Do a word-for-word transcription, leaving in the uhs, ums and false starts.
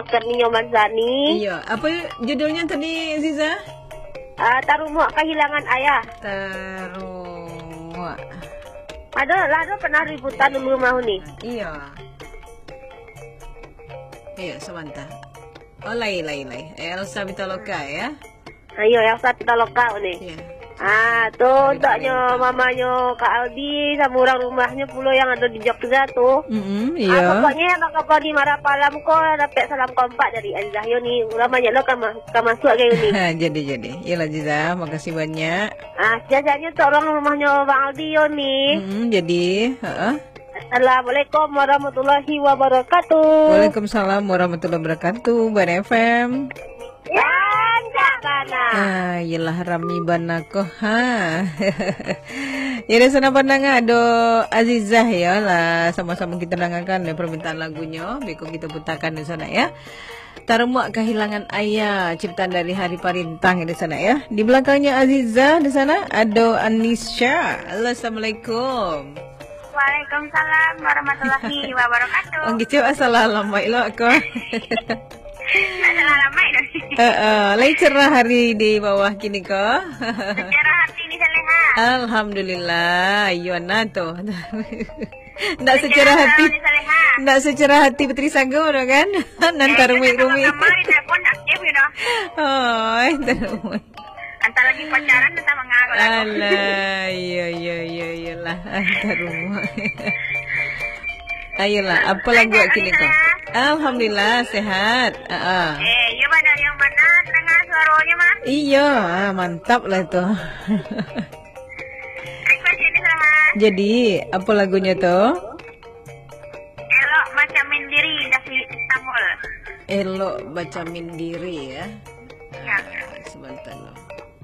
Kurnia Mansani. Iyo, apa judulnya tadi, Aziza? Ah, Tarumuak Kahilangan Ayah. Tarumuak. Ado, lah ado pernah ributan dulu mah ni. Iyo. Iyo, sabanta. Oh, lai, lai, lai. Elsa Pitaloka, ya? Ayo, Elsa Pitaloka ni. Iyo. Ah, tu untuaknyo mamanyo Kak Aldi, samo urang rumahnyo pulo yang ado di Jogja tu. Mm-mm, iyo. Ah, pokoknyo yang bakapa di Marapalam ko, dapek salam kompak dari Azizah yo ni. Urang banyak lo ka ma-, ka masuak ka yo ni. Jadi, jadi. Iyolah, Azizah, makasih banyak. Ah, jajanyo tu urang rumahnyo Bang Aldi yo ni. Mm-mm, jadi, heeh. Assalamualaikum warahmatullahi wabarakatuh. Waalaikumsalam warahmatullahi wabarakatuh, Bar F M. Rancak bana. Ah, iyolah, rami bana ko. Ha. Jadi, sanak pandanga, ado Azizah, yo lah. Samo-samo kito dangakan, yo, permintaan lagunyo. Beko kito putakan di sanak, ya. Tarumuak Kahilangan Ayah, ciptaan dari Hari Parintang di sanak, ya. Di balakangnya Azizah di sanak, ado Anisha. Halo, assalamualaikum. Waalaikumsalam warahmatullahi wabarakatuh. Orang kecil asal alamaik lo ko. Asal alamaik lo. Heeh, lai cerah hari di bawah kini ko. Cerah hati ni, Saleha. Alhamdulillah, iyo na tu. Ndak secerah hati. Ni, Saleha. Ndak secerah hati Putri Sago tu kan. Nan tarumik-rumik. Kamari telepon aktif gitu. Oh, eh, tarumik. Antah lagi pacaran, antah mangago lagu. Alah, iyo, iyo, iyo, iyolah. Antah rumah. Ayolah, apa lagu kini ko? Alhamdulillah, sehat. Ah, ah. Eh, iyo, Bang, dari yang mana terdengar suaranya, Bang? Iyo, ah, mantap lah tu. Request ini, Saleha. Jadi, apa lagunya tu? Elok Macam Mindiri, David Istanbul. Elok Macam Mindiri, ya. Ya. Ah, sebentar lo.